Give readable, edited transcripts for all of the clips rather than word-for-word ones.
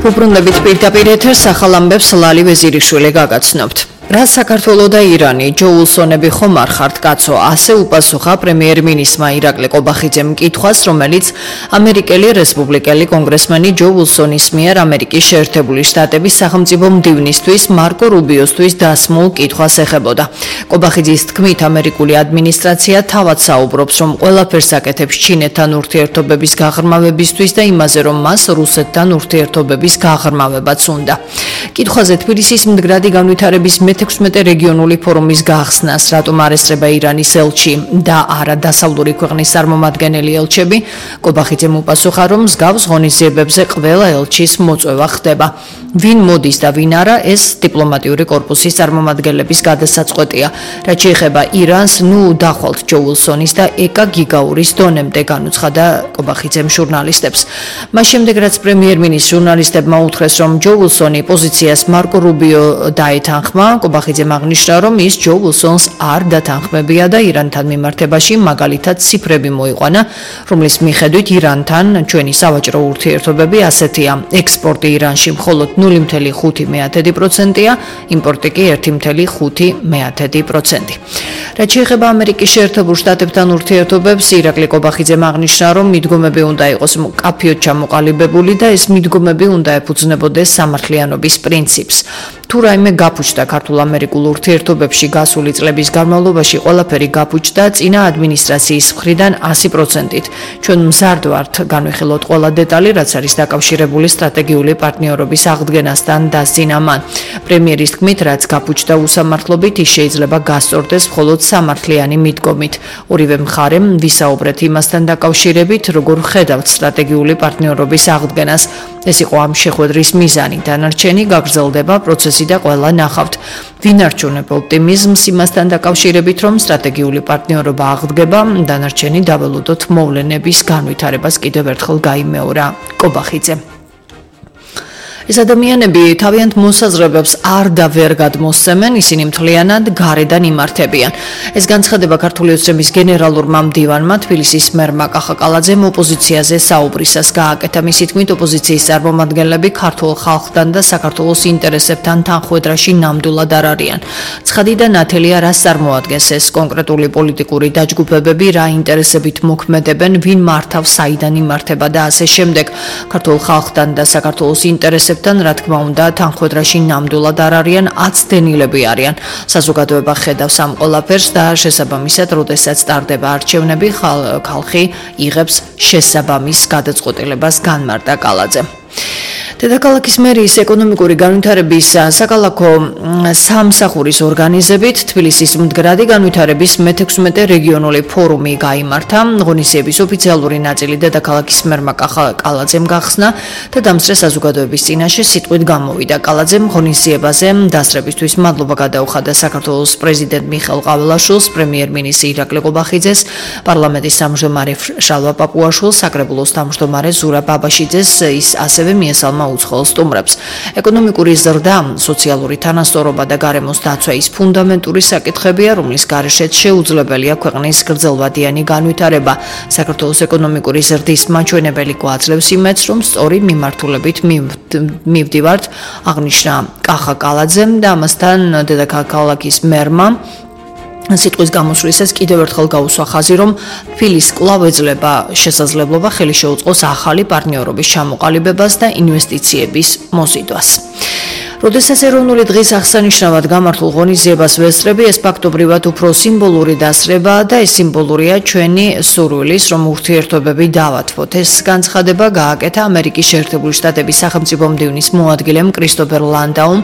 უბრუნდებით პირდაპირ ეთერს ახალ ამბებს ლალი ვეზირიშვილი გაგაცნობთ. რა საქართველო და ირანი ჯოულსონები ხომ არ ხართ კაცო, ასე უპასუხა პრემიერ-მინისტრმა ირაკლი ყობახიძემ კითხვას, რომელიც ამერიკელი რესპუბლიკელი კონგრესმენი ჯო ულსონის მიერ ამერიკის შეერთებული შტატების სახელმწიფო მდივნისთვის მარკო რუბიოსთვის დასმულ კითხვას ეხებოდა. ყობახიძის თქმით, ამერიკული ადმინისტრაცია თავად საუბრობს, რომ ყველაფერს აკეთებს ჩინეთთან ურთიერთობების გაღრმავებისთვის და იმაზე, რომ მას რუსეთთან ურთიერთობების გაღრმავებაც უნდა. კითხვაზე თბილისის მდგრადი განვითარების 16 რეგიონული ფორუმის გახსნას, რატომ არ ესწრება ირანის ელჩი და არა დასავლური ქვეყნის წარმომადგენელი ელჩები, ყობახიძემ უპასუხა, რომ მსგავს ღონისძიებებზე ყველა ელჩის მოწვევა ხდება. ვინ მოდის და ვინ არა, ეს დიპლომატიური კორპუსის წარმომადგენლების გადასაწყვეტია. რაც შეეხება ირანს, დახვალთ ჯო ულსონის და ეკა გიგაურის დონემდე, განუცხადა ყობახიძემ ჟურნალისტებს. მას შემდეგ, რაც პრემიერ-მინისტრ ჟურნალისტებმა უთხრეს, რომ ჯო ულსონი პოზიციას მარკო რუბიო დაეთანხმა, ყობახიძემ აღნიშნა, რომ ის ჯო ულსონს არ დათანხმებია და ირანთან მიმართებაში მაგალითად ციფრები მოიყვანა, რომლის მიხედვით ირანთან ჩვენი სავაჭრო ურთიერთობები ასეთია: ექსპორტი ირანში მხოლოდ 0,5%-ია, იმპორტი კი 1,5%. რაც შეეხება ამერიკის შეერთებულ შტატებთან ურთიერთობებს, ირაკლი ყობახიძემ აღნიშნა, რომ მიდგომები უნდა იყოს მკაფიოდ ჩამოყალიბებული და ეს მიდგომები უნდა ეფუძნებოდეს სამართლიანობის პრინციპს. თუ რაიმე გაფუჭდა ქართულ-ამერიკულ ურთიერთობებში გასული წლების განმავლობაში, ყველაფერი გაფუჭდა წინა ადმინისტრაციის მხრიდან 100%-ით. ჩვენ მზარდ ვართ განვიხილოთ ყველა დეტალი, რაც არის დაკავშირებული სტრატეგიული პარტნიორობის აღდგენასთან, დასძინა მან. პრემიერის თქმით, რაც გაფუჭდა უსამართლობით, ის შეიძლება გასწორდეს მხოლოდ სამართლიანი მიდგომით. ორივე მხარემ ვისაუბრეთ იმასთან დაკავშირებით, როგორ ხედავთ სტრატეგიული პარტნიორობის აღდგენას. ეს იყო ამ შეხვედრის მიზანი. დანარჩენი გაგრძელდება პროცესი და ყველა ნახავთ. ვინარჩუნებ ოპტიმიზმს იმასთან დაკავშირებით, რომ სტრატეგიული პარტნიორობა აღდგება, დანარჩენი დაველოდოთ მოვლენების განვითარებას კიდევ ერთხელ გაიმეორა ყობახიძემ. ეს ადამიანები თავიანთ მოსაზრებებს არ და ვერ გადმოსცემენ, ისინი მთლიანად გარედან იმართებიან. ეს განცხადება ქართული ოცნების გენერალურმა მდივანმა თბილისის მერმა კახა კალაძემ ოპოზიციაზე საუბრისას გააკეთა. მისი თქმით, ოპოზიციის წარმომადგენლები ქართულ ხალხთან და საქართველოს ინტერესებთან თანხვედრაში ნამდვილად არ არიან. ცხადი და ნათელია, რას წარმოადგენს ეს კონკრეტული პოლიტიკური დაჯგუფებები, რა ინტერესებით მოქმედებენ, ვინ მართავს, საიდან იმართება და ასე შემდეგ. ქართულ ხალხთან და საქართველოს ინტერესებთან რა თქმა უნდა, თანხვედრაში ნამდვილად არ არიან, აცდენილები არიან. საზოგადოება ხედავს ამ ყველაფერს და შესაბამისად, როდესაც ტარდება არჩევნები, ხალხი იღებს შესაბამის გადაწყვეტილებას, განმარტა კალაძემ. დედაქალაქის მერიის ეკონომიკური განვითარების საკალათო სამსახურის ორგანიზებით თბილისის მდგრადი განვითარების 16 რეგიონული ფორუმი გაიმართა. ღონისძიების ოფიციალური ნაწილი დედაქალაქის მერმა კახა კალაძემ გახსნა და დამსწრე საზოგადოების წინაშე სიტყვით გამოვიდა. კალაძემ ღონისძიებაზე დასწრებისთვის მადლობა გადაუხადა საქართველოს პრეზიდენტ მიხეილ ყაველაშვილს, პრემიერ-მინისტრ ირაკლი ყობახიძეს, პარლამენტის თავმჯდომარე შალვა პაპუაშვილს, საკრებულოს თავმჯდომარე ზურაბ ბაბაშიძეს, ის ასევე მიესალმა უცხოელ სტუმრებს. ეკონომიკური ზრდა, სოციალური თანასწორობა და გარემოს დაცვა ის ფუნდამენტური საკითხებია, რომლის გარეშეც შეუძლებელია ქვეყნის გრძელვადიანი განვითარება. საქართველოს ეკონომიკური ზრდის მაჩვენებელი გვაძლევს იმედს, რომ სწორი მიმართულებით მივდივართ, აღნიშნა კახა კალაძემ და ამასთან დედაქალაქის მერმა სიტყვის გამოსვლისას კიდევ ერთხელ გაუსვა ხაზი, რომ თბილისს კვლავ ეძლევა შესაძლებლობა ხელი შეუწყოს ახალი პარტნიორობის ჩამოყალიბებას და ინვესტიციების მოზიდვას. როდესაც ეროვნული დღის აღსანიშნავად გამართულ ღონისძიებას ვესწრები, ეს ფაქტობრივად უფრო სიმბოლური დასწრებაა და ეს სიმბოლურია ჩვენი სურვილის, რომ ურთიერთობები დავათვოთ. ეს განცხადება გააკეთა ამერიკის შეერთებული შტატების სახელმწიფო მდივნის მოადგილემ კრისტოფერ ლანდაუმ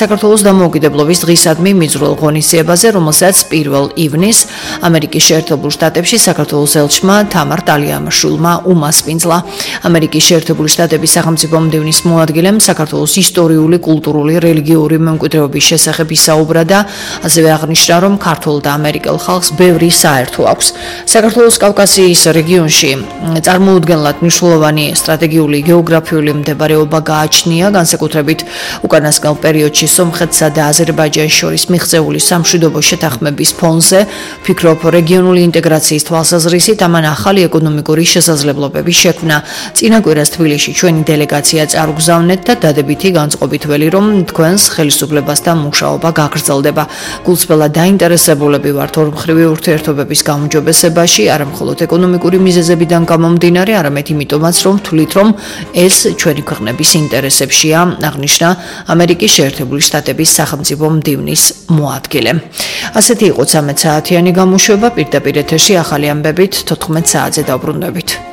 საქართველოს დამოუკიდებლობის დღისადმი მიძრულ ღონისძიებაზე, რომელსაც 1 ივნისს ამერიკის შეერთებულ შტატებში საქართველოს ელჩმა თამარ ტალიამაშვილმა უმასპინძლა. ამერიკის შეერთებული შტატების სახელმწიფო მდივნის მოადგილემ საქართველოს ისტორიული კულტურული კულტურული, რელიგიური მემკვიდრეობის შესახებ ისაუბრა და ასევე აღნიშნა, რომ ქართულ და ამერიკელ ხალხს ბევრი საერთო აქვს. საქართველოს კავკასიის რეგიონში წარმოუდგენლად მნიშვნელოვანი სტრატეგიული გეოგრაფიული მდებარეობა გააჩნია, განსაკუთრებით უკანასკნელ პერიოდში სომხეთსა და აზერბაიჯანს შორის მიღწეული სამშვიდობო შეთანხმების ფონზე, ფიქრობ, რეგიონული ინტეგრაციის თვალსაზრისით ამან ახალი ეკონომიკური შესაძლებლობები შექმნა. წინა კვირას თბილისში ჩვენი დელეგაცია წარუგზავნეთ და დადებითი განწყობით ველი, რომ თქვენს ხელისუფლებასთან მუშაობა გაგრძელდება. გულწრფელად დაინტერესებულები ვართ ორმხრივი ურთიერთობების გაუმჯობესებაში, არა მხოლოდ ეკონომიკური მიზეზებიდან გამომდინარე, არამედ იმიტომაც, რომ თვლით, რომ ეს ჩვენი ქვეყნების ინტერესებშია, აღნიშნა ამერიკის შეერთებული შტატების სახელმწიფო მდივნის მოადგილე. ასეთი იყო 13 საათიანი გამოშვება, პირდაპირ ეთერში ახალი ამბებით 14 საათზე დავბრუნდებით.